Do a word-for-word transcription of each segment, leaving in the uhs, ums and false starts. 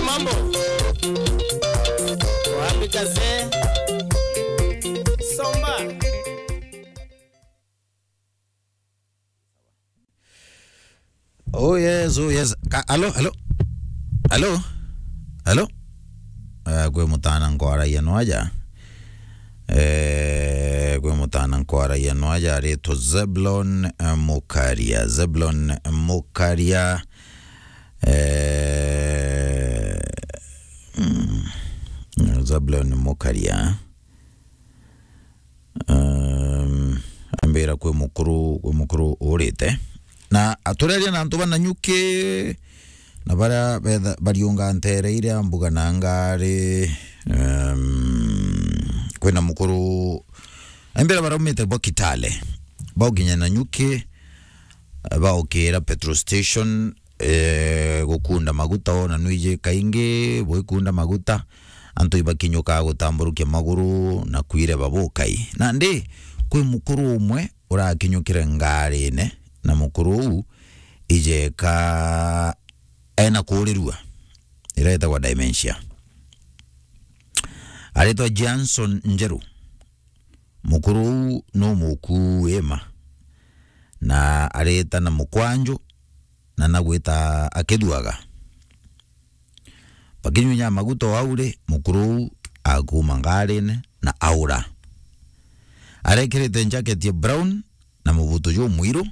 Mambo. Wapi kaze? Somba. Oh yes, oh yes. Ka-, alo, alo. Alo? Alo? Eh, kwi mutana nkwaragia nwaja. Eh, kwi mutana nkwaragia nwaja aritwa Zeblon, eh, Mukaria. Zeblon Mukaria. Eh, mm, Zeblon Mukaria. Um, ambira kwi mukuru, kwi mukuru urite. Na atureria na antu ba Nanyuki, na baria betha-, bariunga ntere iria mbuga na ngari, um, kwina mukuru, ambira baraumite bo Kitale, baukinya Nanyuki, baukira petrol station, eh, gukunda maguta, ona nwiji kaingi bwikunda maguta, antu ibakinyuka gutamburukia maguru na kwireba bukai. Nandi, kwi mukuru umwe urakinyukire ngarine, na mukuru uu ijeka ena kuurirua, iria itagwa dementia. Aritwa Johnson Njeru. Mukuru uu nu mukuima, na arita na mukwanju, na nagwita akithuaga. Bakinyunya maguta o au ri, mukuru uu akuuma ngarine na aura. Arekirite njaketi ya brown na mubutu jumwiru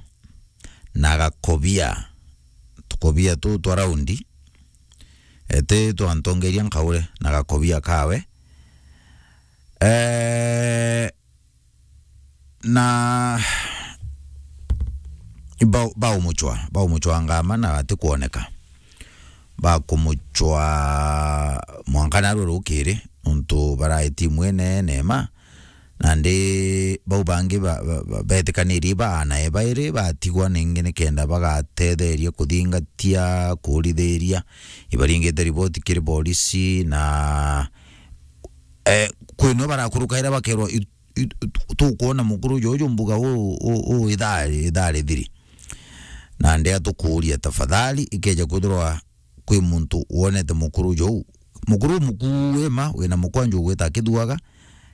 na gakobia, tukobia tu twa raundi, eti twa ntongeria nkaure na gakobia kawe. Eh, na bau-, baumuchwa, baumuchwa ngama na atikwoneka. Bakumuchwa mwanka narua rukiri, nontu barae timu inene ma, nandi bau bangi ba-, ba-, ba-, betikanirie baana e bairi batigwa ningi nikenda bagatetheria kuthingatia, kurithiria. Ibaringite riboti kiri borisi na, eh, kwinwe barakurukaira bakerwa, i-, i-, tukwona mukuru juju mbuga u, u, u ithari, ithari thiri. Na ndea tukuria, tafadhali, ikeja kwithirwa kwi muntu wonete mukuru juu, mukuru mukuima wina mukwanju ugwita akithuaga,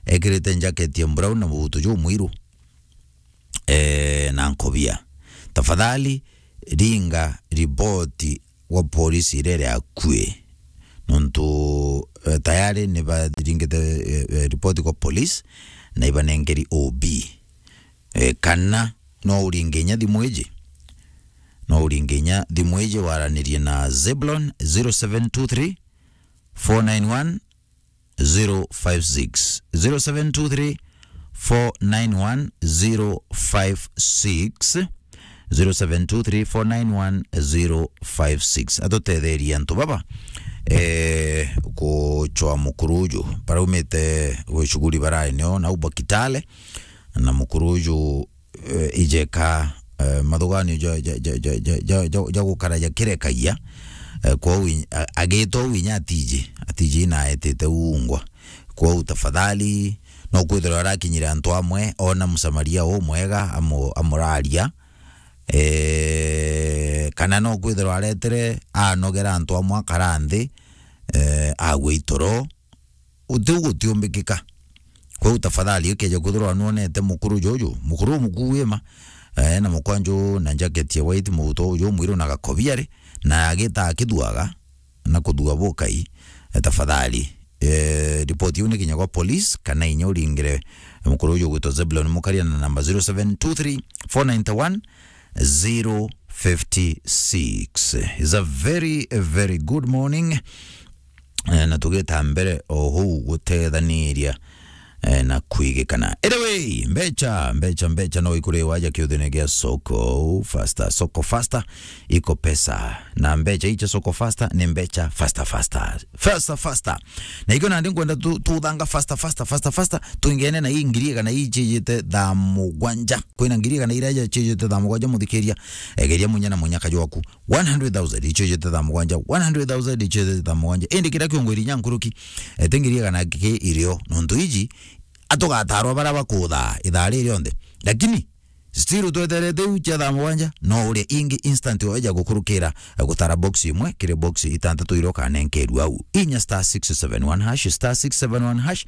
ekirite njaketi ya brown na mubutu jumwiru, eh, na nkobia, tafadhali ringa riboti gwa polisi iria iri akui, nontu, eh, tayari ni baringite, eh, eh, ripoti kwa polisi na ibanengeri O B. Eh, kana no uringe inya thimu iji, no uringe inya thimu iji waranirie na Zeblon, zero seven two three, four nine one, zero five six, zero seven two three, four nine one, zero five six, zero seven two three, four nine one, zero five six. Atutetherie antu baba, eh, kuchwa mukuru uju. Baraumite gwi shughuli barae nio, nau ba Kitale, na mukuru uju, eh, ijeka, eh, mathuganio ja, ja, ja gukara jakirekagia, eh, kwou in-, a-, agita uu inya atiji, atiji na etite uungwa. Kwou tafadhali, no kwithirwa arakinyire antu amwe, ona Msamaria umwega amu-, amuraria, eh, kana no kwithirwa aretire anogera antu amwe akara nthi, eh, agwe itoro, uti u gutiumbikika. Kwou tafadhali, ukeja kwithirwa nwonete mukuru juju, mukuru umukuima, eh, na mukwanju na njaketi ya white, mubuto uju mwiru na gakobia ri, na agita akithuaga na kuthua bukai, eh, tafadhali, eh, ripoti iu ni kinya gwa police, kana inya uringire mukuru uju ugwitwa Zeblon Mukaria na namba zero seven two three, four nine one, zero fifty six. It's a very, a very good morning. Eh, na tugita mbere o huu gutethaniria, eh, na kwigikana. Anyway, mbecha, mbecha, mbecha no ikuri waja kiuthine gia soko faster, soko faster, iko pesa. Na mbecha icha soko faster ni mbecha faster, faster. Faster, faster. Na ikio nandi nkwenda tu-, tuthanga faster, faster, faster, faster. Twingene na ii ngiri igana ii chiijite thaa mugwanja. Kwina ngiri igana iria chiijite thaa mugwanja muthikiria. Egeria munya na munyaka jwaku. One hundred thousand ichijite thaa mugwanja, one hundred thousand ichijite thaa mugwanja. Indi kiria kiongwiri inya nkuruki, ete ngiri igana ki irio, nontu iji atugatarwa baria bakuthaa ithaa ri rionthe. Lakini Still tweterete iu cia thaa mugwanja, no uria ingi instant weja gukurukira, eh, gutara box imwe kiri box itantatu iria ukanenkerua au. Inya star six seven one hash, star six seven one hash,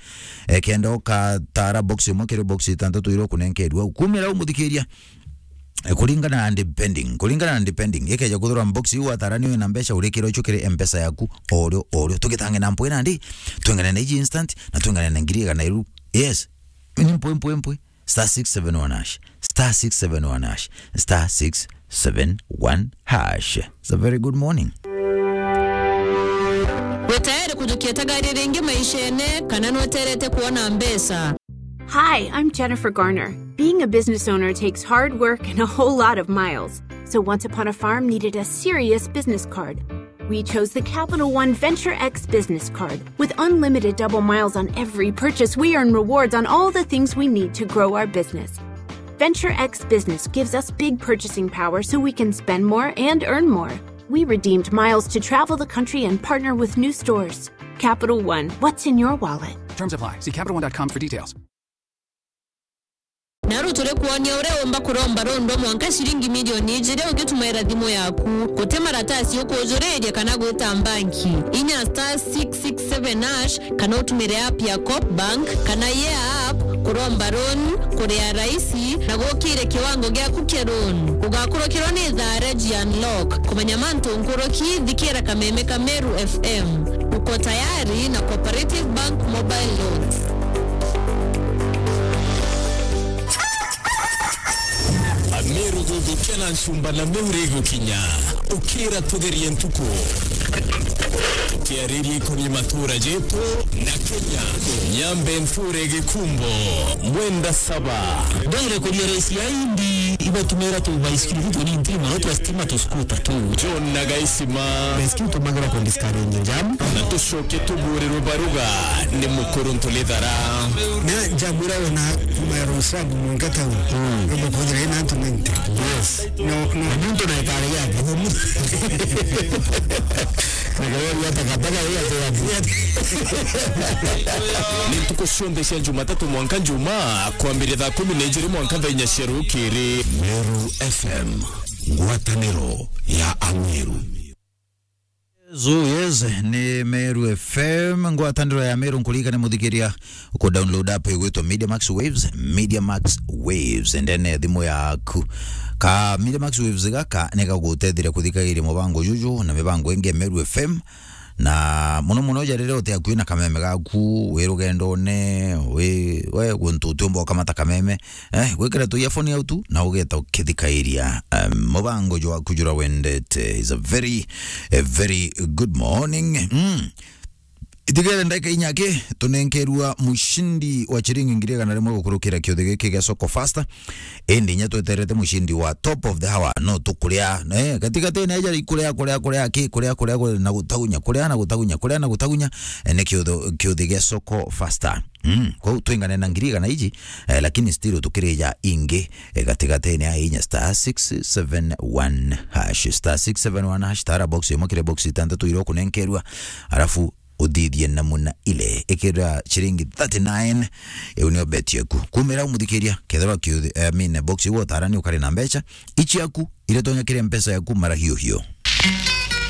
eh, kenda ukatara box imwe kiri box itantatu iria ukunenkerua au. Kumira au muthikiria, eh, kuringana na depending, kuringana na depending, ikeja kuthirwa box iu watarani wina mbeca, urikira ucio kiri M-Pesa yaku, orio, orio. Tugitange na mpwe nandi, twengane na iji instant, na twengane na ngiri igana iru. Yes. Ni mpwe, mpwe, mpwe. Star six seven one hash. Star six seven one hash. Star six seven one hash. It's a very good morning. Wi tayari kujukia tagari ringi maishene, kana nweterete kuona mbeca? Hi, I'm Jennifer Garner. Being a business owner takes hard work and a whole lot of miles. So Once Upon a Farm needed a serious business card. We chose the Capital One Venture X business card. With unlimited double miles on every purchase, we earn rewards on all the things we need to grow our business. Venture X Business gives us big purchasing power so we can spend more and earn more. We redeemed miles to travel the country and partner with new stores. Capital One, what's in your wallet? Terms apply. See Capital One dot com for details. Naru turi kwonia uria umba kuromba rondo mwanka ciringi milioni ijiri ugitumaira thimu yaku. Guti maratasi ukujuriria kana gwita mbanki. Inya star six six seven hash kana utumire app ya Coop Bank kana Yea app kuromba loan, kuria raisi na gukire kiwango giaku kia loan. Ugakurukirwa ni thaa Regi Unlock. Kumenya mantu nkuruki, thikira kameme ka Meru F M. Uko tayari na Cooperative Bank Mobile Loans. Ameru guthukia na ncumba na miuri igukinya. Ukira tutherie ntuku. Tukiariria ikoni matura jetu na Kenya. Nyambe nture Gikumbo, Mwenda Saba. Ndere kuria rais ya Indi, ibatumira tu baisikiri tu ni ntima, no twa stima tu scooter tu. John na Gaisima. Baisikiri tumagira ku discourage jam. Na tucoke tuburirwe baruga ni mukuru ntulithara. Na jam ira wona kuma ya Rosabu mwanka town. Mm. Robo kujira ina antu ninety. Yes. No, no. Na muntu na itare yake. Ni ntuku cionthe cia Jumatatu mwanka Njumaa, kwambiria thaa kumi na ijiri mwanka thaa inya cia rukiri. Meru F M, ngwataniro ya Ameru. Yes, oh yes, ni Meru F M, ngwataniro ya Meru. Nkuririkane muthikiria ku download app igwitwa Media Max Waves, Media Max Waves, ndene ya thimu yaku. Ka Media Max Waves gaka ni gaguteithiria kuthikagiria mubango juju na mibango ingi ya Meru F M. Na muno muno ja riria uti akui na kameme gaku, wi rugendone, wi, we guntu utiumba ukamata kameme, eh, gwikira tu earphone au tu, na ugeta ukithikairia, um, mubango jwaku jura wendete. Is a very, a very good morning. Mm. Itigere ndagika inya ki, tunenkerua mushindi wa chiringi ngiri igana rimwe gukurukira kiuthi giki gia Soko Fasta. Indi inya tweterete mushindi wa top of the hour, no tukuria, eh, gatigati ni aja ikuria, kuria, kuria, ki, kuria, kuria, kuria, na gutagunya, kuria na gutagunya, kuria na gutagunya, eh, ni kiuthu-, kiuthi gia Soko Fasta. Mm, kwou twingane na ngiri igana iji, eh, lakini still tukirija ingi, eh, gatigati ni a inya star six seven one hash, star six seven one hash, tara box imwe kiri box itantatu iria ukunenkerua, arafu uthithie namuna ile. Ikira chiringi thirty-nine, iu nio bet yaku. Kumira umuthikiria, kethirwa kiuthi, I mean, box iu utarani ukari na mbeca, ichiaku, iria tonya kiri mpesa yaku mara hiu hiu.